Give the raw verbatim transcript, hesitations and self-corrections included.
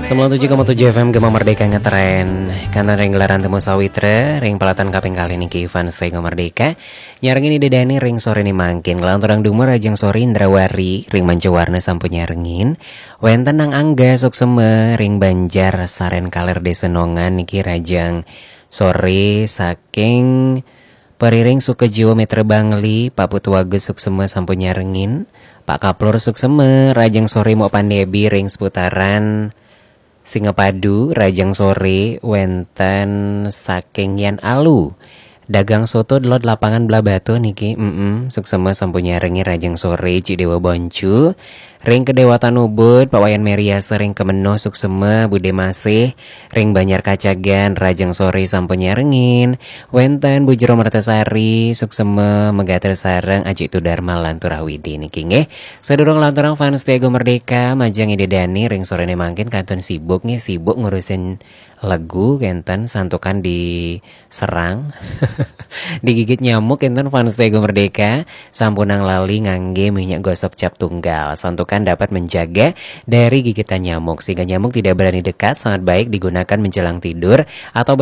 Sembilan tujuh koma tujuh F M Gema Merdeka ngetren. Kanten ring gelaran Temu Sawitra, ring pelataran kaping kalih niki Fans Gema Merdeka. Nyarengin Ida Dani ring sore ni mangkin. Nglanturang dumun rahajeng sore Indrawari, ring Mancawarna sampun nyarengin. Wenten Nang Angga suksema, ring Banjar Saren Kaler Desa Nongan niki rahajeng sore saking Periring Sukajiwa Mitra Bangli, Pak Putu Agus suksema sampun nyarengin. Pak Kaplur suksema, rahajeng sore Mok Pandebi ring seputaran Singapadu, rahajeng sore wenten saking Yan Alu. Dagang soto delod lapangan Blahbatuh niki, mm, suksema sampun nyarengin rahajeng sore Cik Dewa Boncu. Ring Kedewatan Ubud, Pak Wayan Meriasa ring Kemenuh suksema, Bude Masih, ring Banjar Kacagan, rahajeng sore sampun nyarengin. Wenten Bu Jero Mertasari, suksema, megatel sareng Ajik Tudarma lan Turah Widi niki nggih. Sadurung lanturang Fans Gema Merdeka, majeng Ida Dani ring sore ni mangkin kantun sibuk nggih, sibuk ngurusin lagu kenten santukan diserang. Digigit nyamuk kenten Fans Gema Merdeka, sampunang lali ngangge minyak gosok cap tunggal. Santukan dapat menjaga dari gigitan nyamuk sehingga nyamuk tidak berani dekat, sangat baik digunakan menjelang tidur atau